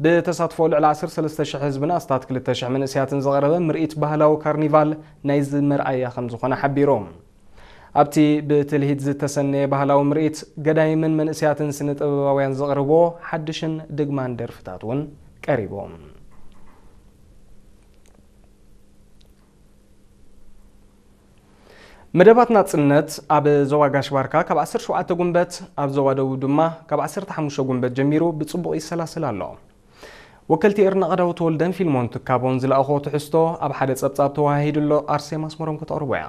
ብተሳትፎ ልዕሊ ዓሰርተ ሰለስተ ሽሕ ህዝብን ኣስታት ክልተ ሽሕ መንእስያትን ዝቐረበ ምርኢት ባህላዊ ካርኒቫል ናይዚ መርኣያ ከም ዝኾነ ሓቢሩ። ኣብቲ ብትልሂት ዝተሰነየ ባህላዊ ምርኢት፣ ገዳይምን መንእስያትን ስነ ጥበባውያን ዘቕርቦ ሓድሽን ድግማን ደርፍታት እውን ቀሪቦም። መደባት ናጽነት ኣብ ዞባ ጋሽ ባርካ ካብ ዓሰርተ ሸውዓተ ጉንበት፣ ኣብ ዞባ ደቡብ ድማ ካብ ዓሰርተ ሓሙሽተ ጉንበት ጀሚሩ ብጽቡቕ ይሰላሰል ኣሎ። ወከልቲ ኤርና ቀዳው ተወልደን ፊልሞን ትካቦን ዝለኣኾ ትሕዝቶ ኣብ ሓደ ጸብጻብ ተወሃሂዱ ኣሎ። ኣርሴማ ኣስመሮም ከተቕርቦ እያ።